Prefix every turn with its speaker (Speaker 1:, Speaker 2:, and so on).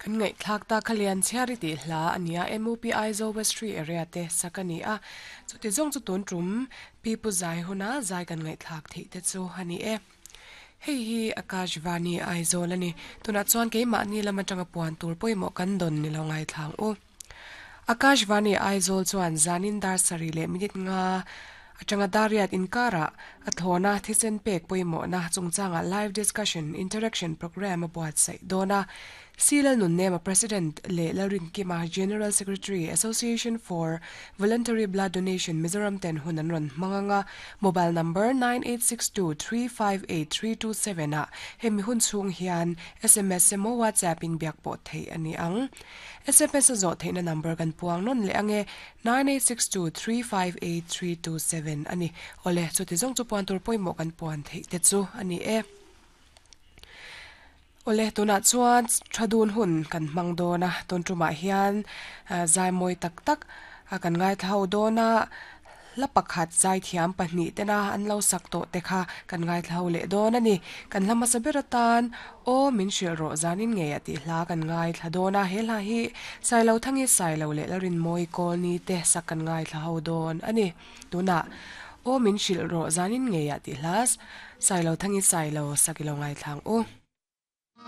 Speaker 1: Kan ngaihthlak ta kha lian chhiar i tih hla a nia MUP Aizawl West Tree area te sak a ni a, chuti zawng chu tun tum Pi Pu Zai huna zai kan ngaihthlak theih te chu a ni e. Hei hi Akashvani Aizawl a ni. Tunah chuan keimahni lam atanga puan tur pawimawh kan dawn ni lo ngaithlang u. Akashvani Aizawl chuan zanin dar sarih leh minute nga atanga dariat inkarah a thlawna thisen pek pawimawhna chungchangah live discussion interaction programme a buatsaih dawn a. C Lalnunnema President leh Lalrinkima General Secretary Association for Voluntary Blood Donation Mizoram ten hun an rawn hmang ang a, mobile number 9862358327 ah hemi hun chhung hian sms emaw WhatsApp in biak pawh theih a ni ang. Sms a zawh theihna number kan puang nawn leh ang e, 9862358327 a ni. Awle, chuti zawng chu puan tur pawimawh kan puan theih te chu a ni e. Awle, tunah chuan tha dun hun kan hmang dawn a, tun tumah hian zai mawi tak tak kan ngaithla ho dawn a, hla pakhat zaithiam pahnih tena an lo sak tawh te kha kan ngaithla ho leh dawn a ni. Kan hla hmasa ber atan Aw min hrilh rawh zanin ngei a tih hla kan ngaithla dawn a, he hla hi Sailo Thangi Sailo leh Lalrinmawi Kawlni te sak kan ngaithla ho dawn a ni. Tunah Aw min hrilh rawh zanin ngei a tih hla Sailo Thangi Sailo sak i lo ngaithla ang u.